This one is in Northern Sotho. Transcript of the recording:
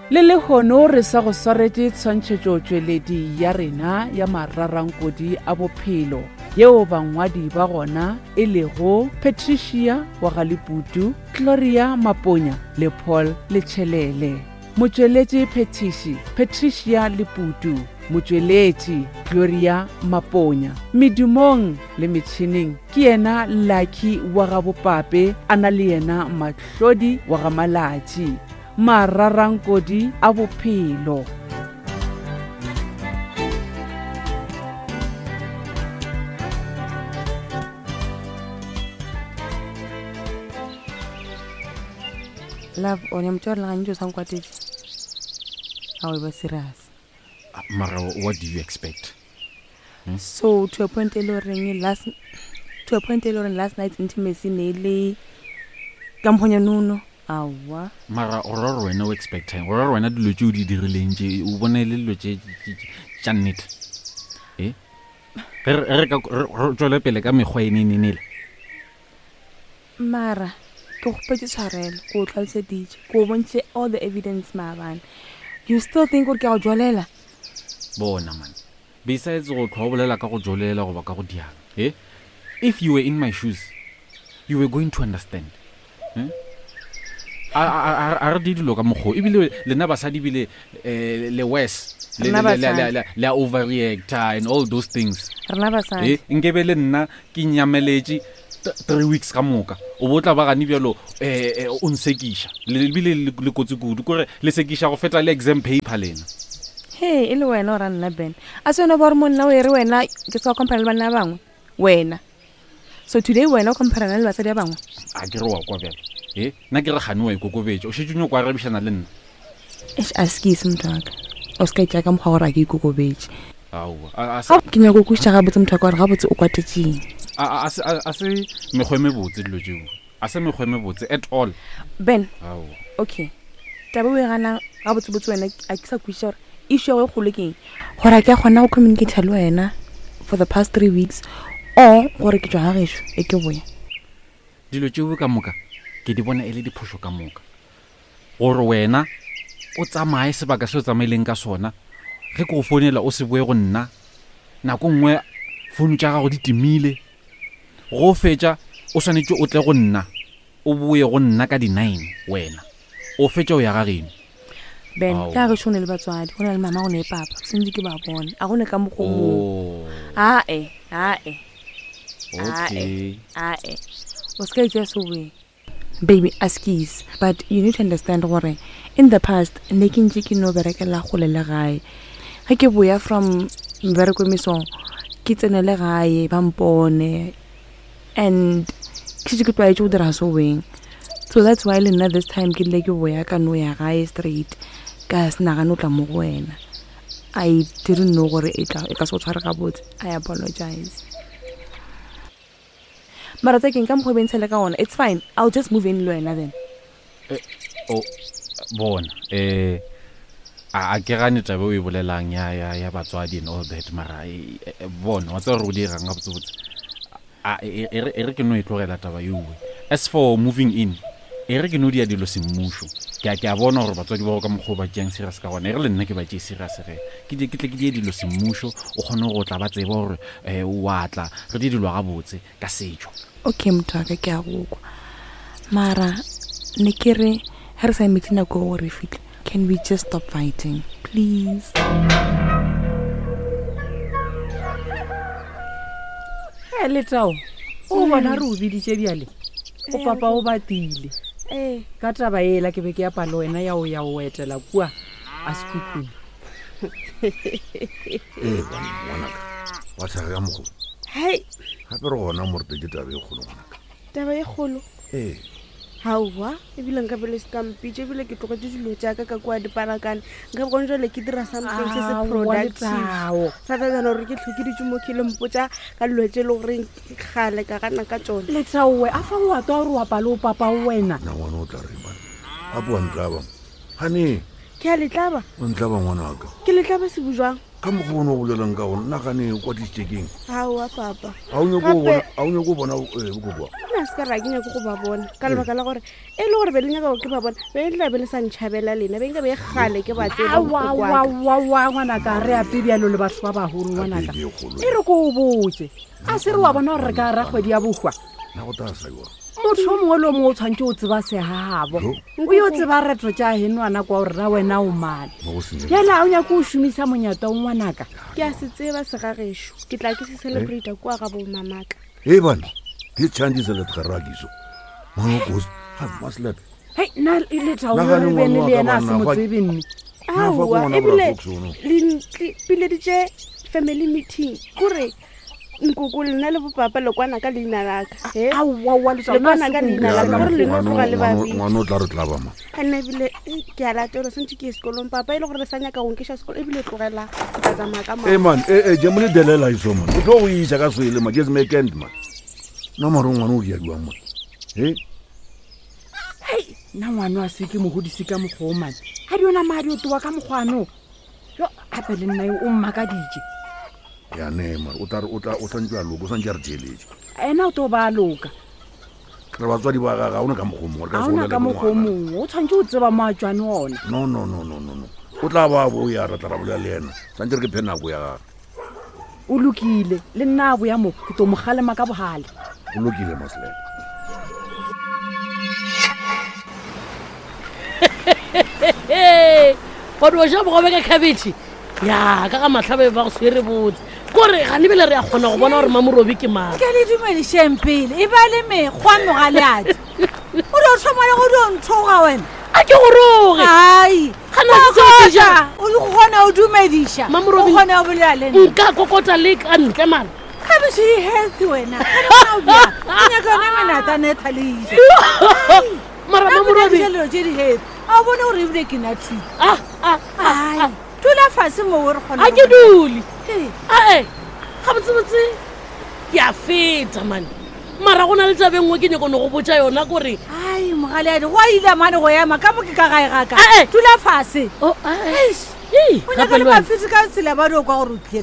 Le lehono re sa go swaretše tshwantšhetšotšweledi ya rena ya mararankodi a bophelo yeo bangwadi ba gona e lego Patricia wa ga Leputu, Gloria Maponya le Paul Letšhelele. Motšweletši phethiši Patricia Leputu, motšweletši Gloria Maponya. Medumong le metšhineng ke yena Lucky wa ga Bopape a na le yena Mahlodi wa ga Malatši. Mararankodi a bophelo. Love, o ne motho wa rena gantši o sa nkwatetše. A o e ba serious. Mara what do you expect? Hmm? So to a point e le goreng last to a point e le goreng last night's intimacy ne e le ka mokgonya nono. Aowa. Mara o ra gore wena o expectang? O ra gore wena dilo tše o di dirileng tše o bone e le dilo tše tša nnete? E? Ge re ka re tšwele pele ka mekgwa e nenenele. Mara ke kgopetše tshwarelo, ke o tlhaloseditše, ke o bontšhitše all the evidence maabane. You still think gore ke a go jolela? Bona man, besides go tlhwa o bolela ka go jolela goba ka go diang, eh? If you were in my shoes, you were going to understand. Eh? A, a, a, a re di dilo ka mokgwa ebile lena basadi ebile eh, le worse le, Rena le, le, le, basadi. le, le a overreacta and all those things Rena basadi. Eh, nkebe le nna ke nyameletše three weeks ka moka o bo tla ba gane bjalo um o nsekiša ebile le kotsi kudu kore le sekiša go feta le exam paper lena. He e le wena o ra nna Ben a se wena ba gore monna o e re wena ke se wa compare le banna ba bangwe wena so today wena o compare le basadi ba bangwe. A ke re wa kwa bjalo e nna ke re gane wa ikokobetša o šetše o nyoko arabišana le nna. Eish askies motho wa ka o se ka itšea ka mokgwa gore a ke ikokobetše. Aowa, a, a se. Ke nyako go kwešiša gabotse motho wa ka gore gabotse o kwatetšeng. A, a, a se, a, a se mekgwa e mebotse dilo tšeo. A se mekgwa e mebotse at all. Ben. Aowa. Okay. Taba o e ganang gabotsebotse wena a ke sa kwešiša gore issue ya go e kgolo ke eng. Gore a ke a kgona go communicate le wena for the past three weeks or gore ke tšwa ga gešo e ke boya. Dilo tšeo ka moka ke di bona e le diphošo ka moka. Gore wena o tsamaye sebaka se o tsamaileng ka sona, ge ke go founela o se boe go nna, nako nngwe founu tša gago di timile, go fetša o swanetše o tle go nna, o boe go nna ka di-nine wena o fetša o ya ga geno. Ben, ka gešo go ne le batswadi, go na le mama, go ne le papa, sentse ke ba bone, a go ne ka mokgwa o mongwe. Oh. Ae, ae. Okay. Ae, ae. O se ka itšea seweng. Baby, askies, but you need to understand gore in the past ne ke ntše ke no berekela kgole le gae. Ge ke boya from mmereko mesong, ke tsenele gae ba mpone and ke šetše ke tlwaetše go dira seweng. So that's why le nna this time ke rile ke boya ka no ya gae straight ka se nagane go tla mo go wena. I didn't know gore e tla e ka se go tshware gabotse. I apologize. Mara tsa keng ka mokgwa o bentshele ka gona it's fine i'll just move in le wena then. Eh, o bona eh a a ke gane taba o e bolelang ya ya ya batswadi and all that mara e, e, e, bona wa tseba gore o dirang gabotsebotse a e e re e re ke no e tlogela taba eoe as for moving in e re ke no dia dilo semmušo ke a ke a bona gore batswadi ba go ka mokgwa o ba tšeang serious ka gona e re le nna ke ba tšee serious ge ke ke tle ke die dilo semmušo o kgone go tla ba tseba gore um wa tla re di dilo gabotse ka setšo. Okay motho wa ka ke a go kwa mara ne ke re ge re sa emetše nako gore re fihle can we just stop fighting please. He Letao, o bona re o biditše bjale o papa o batile Ee. ka taba ela ke be ke apa le wena ya o ya o etela kua a sekhukhune. Ee, banna, ngwanaka, wa tshega ka mokgwa. Hei. Gape re gona mo re tletše taba e kgolo, ngwanaka. Taba e kgolo? Ee. Aowa, ebile nka be le se ka mpitša, ebile ke tlogetše dilo tša ka ka kua diparakane. Nka be gone jwale ke dira something se se Aowa, productive. Letao. Rather than gore ke hlwe ke dutše mo ke le mpotša ka dilo tše e le goreng kgale ka gana ka tšona. Letaowe, a fa o a twa gore o apa le o papa wena. Na ngwana o tla reng, banna? Gape wa ntlaba mo. Gane. Ke a letlaba. O ntlaba ngwanaka. Ke letlaba sebujwang. Ka mokgwa o ne o bolelang ka gona, nagane o kwatisitše keng? Aowa papa. A o nyako go bona, a o nyako go bona eh, bokokoa? Nna se ka re ga ke nyake go ba bona ka lebaka la gore e le gore be le nyaka gore ke ba bona be le tla be le sa ntšhabela lena be nka be gale ke ba tseba bokokoaka. Aowaowaowa ngwanaka re ape bjalo le batho ba bagolo ngwanaka. Gape ke e kgolo. E re ko o botse. A se re wa bona gore re ka ra kgwedi ya bohwa. Na go tla sa jwang? Motho yo mongwe le o mongwe o tshwanetse o tseba segagabo. O yo tseba reto tša henwana kwa gore ra wena o mane. Mo go senyegile. Bjale a o nyake o šomisa monyata o ngwanaka. Ke a se tseba segagešo. Ke tla ke se celebrata kua ga bomamaka. Hey bana, this change is a let garagiso. Mano goes, ha maslap. Hei, nna e le tao Nagane re bene ngwana le wa ka yena a se banna, mo fa- tsebe mme. Na fa ke Aowa ngwana ebile Bra Fox ono. le npileditše family meeting kore nkoko lena le bopapa le kwana ka leina laka he Aowaowa Le kwana ka leina la ka, gore lena tloga le babedi. Ngwana o tla re tlaba ma. Nna ebile eh, ke a latelwa santse ke ye sekolong papa e le gore le sa nyaka go nkeša sekolo ebile tlogela ke tla tsamaya ka Hey man, eh eh jemole delela iso man. O tlo go isa ka swele man, just make end man. No mara ngwana o dia jwang man. He? Hei, nna ngwana a se ke mogodise ka mokgwa o mane. Ga di yona madi o towa ka mokgwano. Yo, gape le nna yo o mmakaditše. Ya ne mara o tla re o tla o santse a loka, o santse a re theeletše. Ena o tlo ba a loka. Re batswadi ba gagwe, ga ona ka mokgwa o mongwe, re ka Ga se ona bolele ka le mokgwa o ngwana. mongwe, o tshwanetse o tseba mo a tswane ona. No no no no no no. O tla ba boya re tla ra bolela le yena. Santse re ke phe nako ya gagwe. O lokile, le nna a boya mo, ke tlo mo kgalema ka bogale. O lokile Maslap. Ee, wa di ja bogobe ka khabetšhe ya ka ga matlhabe ba go swere botse kore gane bele re a kgona go bona gore mamorobi ke mang ke le dumedišeng pele e ba le mekgwa mogaleadi o dio thoma le go dio nthoga wena a ke goroge ai Gana se seo ke jang? o kgona o dumediša Mamorobi- o kgona go bolela le nna nka kokota le ka ntle mara khabetšhe e healthy wena Gane wena o bjang? O nyaka yone menatane e thaleisa mara mamorobi dilo tše di healthy a o bone gore ebile ke nathile Ah, ah, ah, ai dula fase moo re kgona a ke go- dule Ee. ae gabotsebotse ke a feta mane mara go na le tabe nngwe ke nyako ne go botsa yona kore ai mogaleadi go a ile mane go ema ka mo ke ka gae gaka Ah, eh. dula fase Oh, ah, eh. Eish. Ei, o gape nyaka le le wena. mafisi ka tsela ba dio kwa gore o tlile